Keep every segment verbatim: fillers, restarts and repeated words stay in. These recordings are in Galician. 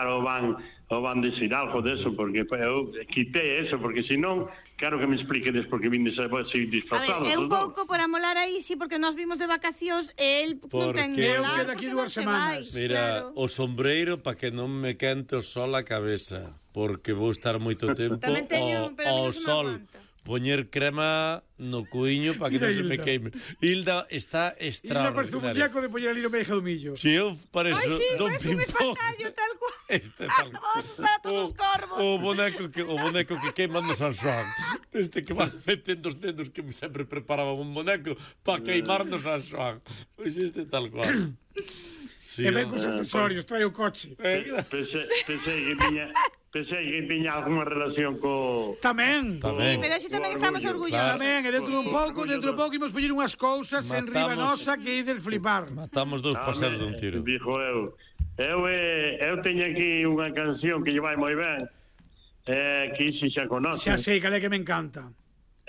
preguntar ou van ou van dicir algo deso, porque eu quitei eso, porque senón claro que me expliquedes porque vindes así disfrazados. A ver, é un pouco por amolar aí, sí, porque nós vimos de vacacións e el non ten eu nada, quedo aquí dúas semanas. Mira, o sombreiro para que non me quente o sol a cabeza, porque vou estar moito tempo ao sol. Poñer crema no cuiño para que non se me queime. Hilda está extraordinaria. Hilda parece un muñeco de poñer ali no medio do millo. Si eu parezo Don Pimpón. Ai, sí, parece un espantallo, tal cual. Este tal cual. Os corvos. O boneco que o boneco que queima no San Xoán. Este que van metendo os dedos que sempre preparaba un boneco para queimar no San Xoán. Pois este tal cual. Sí, e ven cos accesorios, trae o coche. Pensei que tiña... Pensei que tiña alguna relación co... Tamén. Sí, pero así tamén estamos orgullosos. Tamén, e dentro dun pouco, dentro dun pouco imos poñer unhas cousas en riba nosa que ides flipar. Matamos dous paseros dun tiro. Dixo eu. Eu, eu teño aquí unha canción que lle vai moi ben, eh, que iso xa conoce. Xa sei, cal é que me encanta.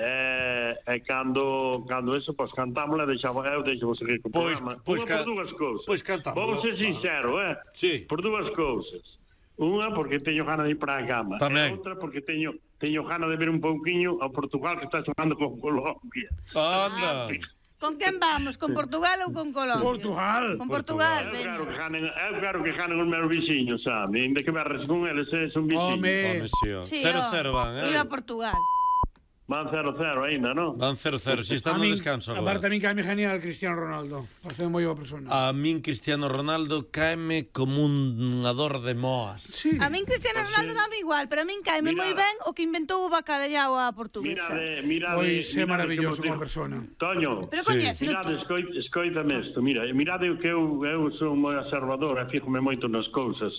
E eh, cando cando eso, pois cantámola, deixamos, eu deixo vos seguir co programa. Pois, por dúas cousas. Pois cantamos. Vamos ser sincero, eh? Sí. Por dúas cousas. Unha, porque teño gana de ir para a cama. Tamén. E outra, porque teño teño gana de ver un pouquiño ao Portugal que está xogando con Colombia. Anda. Con quen vamos? Con Portugal ou con Colombia? Portugal. Con Portugal, eu veña. claro que ganen, eu claro que ganen os meus viciños, sabe? Ainda que berres con eles, eh, son viciños. Home. Cero cero van, eh? Viva Portugal. Van cero cero ainda, non? Van cero cero, si está no descanso agora. Aparte a min caeme genial Cristiano Ronaldo. Parece moi boa persona. A min Cristiano Ronaldo caeme como un ador de moas. Sí. A min Cristiano Ronaldo dame igual, pero a min caeme moi ben o que inventou o bacalhau a portuguesa. Mirade, mirade. Pois é maravilloso como persona. Toño. Pero coñece, mirade, escoit, escoitame isto, mira, mirade que eu, eu sou moi observador, e fíjome moito nas cousas.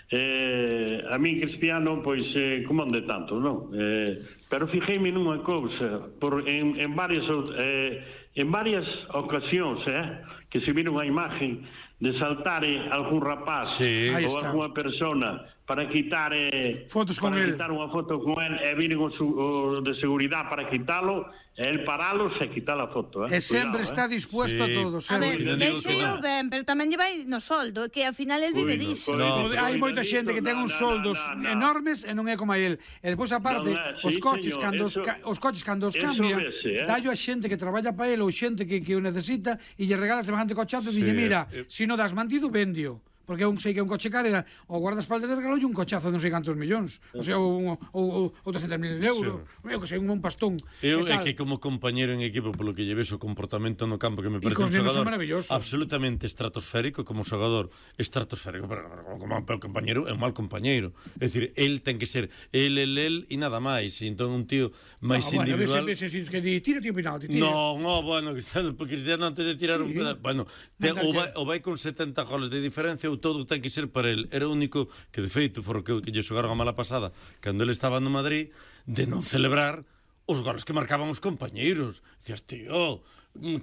Eh, a mí Cristiano, pois, eh, como ande tanto, non? Eh, pero fijei-me nunha cousa, por, en, en varias eh, en varias ocasións, eh, que se viron a imagen de saltar algún rapaz sí. ou alguna persona para quitar eh, fotos con para él. quitar unha foto con él e viren o, su, o de seguridade para quitalo, e el paralos e quitar a foto, eh? E sempre Cuidado, está eh? dispuesto sí. a todo. A ver, deixo ben, pero tamén lle vai no soldo, que ao final el vive disso. No, hai moita xente que ten uns soldos no, no, no. enormes e non é como a él. E depois aparte, No, no, os sí, coches señor, cando eso, os, ca, os coches cando os eso cambia, vese, eh? dallo a xente que traballa para él ou xente que, que o necesita e lle regala semejante cochazo e Sí, dille, mira, eh, se si non das mantido, vendio. Porque eu sei que é un coche caro, o guardaespaldas de regalo e un cochazo de non sei cantos millóns. O sea, ou, ou, ou trescentos mil euros. Sí. Eu que sei, un, un pastón. Eu é que como compañeiro en equipo, polo que lleves o comportamento no campo, que me parece un xogador absolutamente estratosférico, como xogador estratosférico, pero como un compañeiro é un mal compañeiro. É dicir, el ten que ser el, el, el e nada máis. E entón un tío máis no, individual... Bueno, veces, veces que di, tira, tío, penalti, tira. No, no, bueno, Cristiano, Cristiano antes de tirar sí. un... Bueno, te, o, vai, o vai con setenta goles de diferencia, todo ten que ser para el. Era o único que, de feito, for o que, que lle xogaron a mala pasada cando ele estaba no Madrid, de non celebrar os goles que marcaban os compañeiros. Dicías, tío,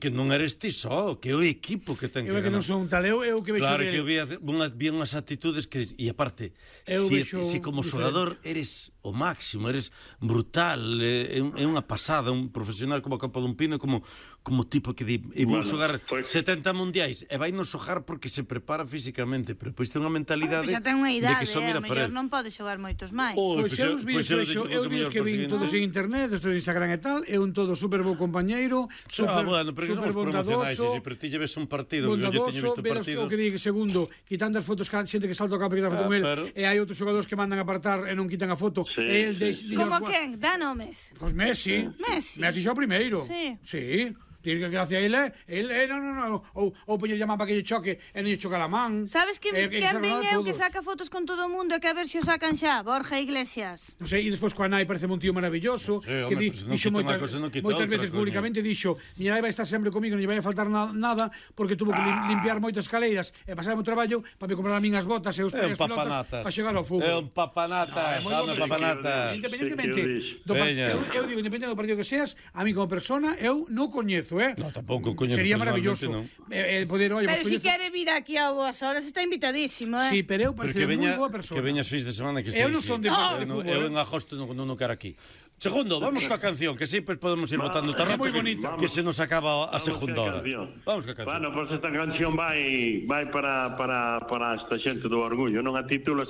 que non eres ti só, que é o equipo que ten que ganar. Eu é que non son tal, eu, eu que vexo claro, dele. que eu vi, unhas, vi unhas actitudes que... E aparte, si, si como xogador eres o máximo, eres brutal, é, é unha pasada, un profesional como a Copa dun Pino, como, como tipo que di, e vou bueno, xogar pues... setenta mundiais, e vai non xogar porque se prepara físicamente, pero pois ten unha mentalidade bueno, pues ten unha idade, de que só mira eh, para non pode xogar moitos máis. Oh, pois eu os vídeos que vexo, eu vídeos que vin todos en internet, estos de Instagram e tal, é un todo super bo compañeiro, super, ah, bueno, pero super bondadoso, si, pero ti lleves un partido, bondadoso, yo teño visto partidos. O que diga, segundo, quitando as fotos, xente que salta o campo e quita a foto ah, con el, pero... e hai outros xogadores que mandan apartar e non quitan a foto, sí, e el sí, sí. Como quen? Dá nomes. Pois Messi. Messi. Messi xa o primeiro. Sí. Sí. Diz que gracias a ele, ele, non, non, non, ou, ou poñer llamar para que lle choque e non lle choca a man. Sabes que eh, quen ven eu que saca fotos con todo o mundo e que a ver se o sacan xa? Borja Iglesias. Non sei, e despois coa nai parece un tío maravilloso, sí, que home, di, no dixo moitas, no moitas veces públicamente dixo, miña nai vai estar sempre comigo, non lle vai a faltar na, nada, porque tuvo que ah. limpiar moitas escaleiras e pasar o traballo para me comprar a min as botas e os pegas pelotas para chegar ao fútbol. É un papanata, é un papanata. Independentemente do partido, eu digo, independentemente do partido que seas, a mí como persona, eu non coñezo, eh? No, tampouco coñezo. Sería maravilloso no. eh, poder, oye, pero si coñezo... quere vir aquí a boas horas está invitadísimo, eh? Sí, pero eu parece moi boa persona. Que veñas fins de semana que estés. Eu non son de, no. de fútbol. Eu en agosto non, non quero aquí. Segundo, vamos coa canción, que sempre podemos ir votando tarde, que, que se nos acaba a segunda hora. Vamos coa canción. Bueno, pois pues esta canción vai vai para para para esta xente do orgullo, non a título